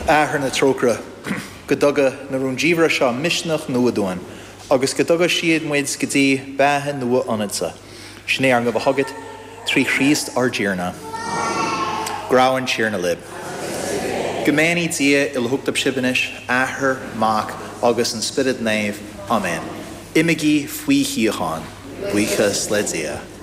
Athair na trócaire, go dtuga na rúndiamhra seo misneach nua dúinn agus go dtuga siad muid go dtí beatha nua ionatsa. Sin é ár ngabháil chugat trí Chríost ár dTiarna. Go raibh an Tiarna libh. Go mbeannaí Dia uilechumhachtach sibh anois, Athair, Mac agus an Spiorad Naomh. Amen. Imígí faoi shíocháin. Buíochas le Dia.